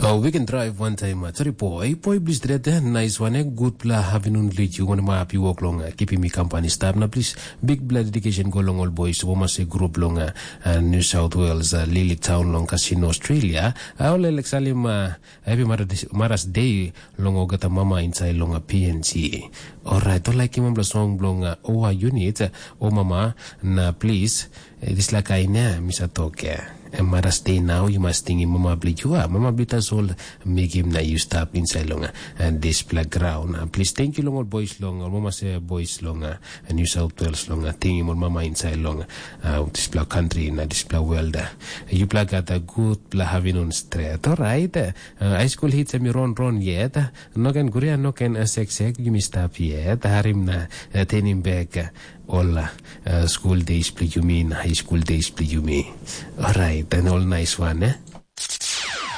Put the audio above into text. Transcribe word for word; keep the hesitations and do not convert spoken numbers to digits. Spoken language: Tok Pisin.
Oh, we can drive one time. Uh, sorry, boy. Boy, please, dread. Nice one. Eh? Good pla, having un lead you. One map you walk long. Uh, keeping me company. Stop now, please. Big blood dedication go long all boys. Woma se group long uh, uh, New South Wales, uh, Lily Town long Casino, Australia. Uh, all Alex Salim, uh, happy Mother's Day long ogata mama inside long a P N G. Alright, to like him bla song blong uh, Oa Unit, uh, O Mama, na please, eh, dislike I na, Misa Toke. And Mother's Day now, you must sing him Mama Blue. You are Mama Blue Tasol, make him na you stop inside long uh, and this black ground. Uh, please thank you long all boys long, all Mama say boys long, uh, and New South Wales long, uh, thank him all Mama inside long, uh, this black country, na this black world. Uh, you black got a good bla having on straight. Alright, uh, high school hits and me run run yet. Uh, no can guria, no can uh, sek sek, you me stop yet. Harim na uh, turn him back. Uh, all uh, uh, school days play you mean, high school days play you me. Alright, and all nice one, eh?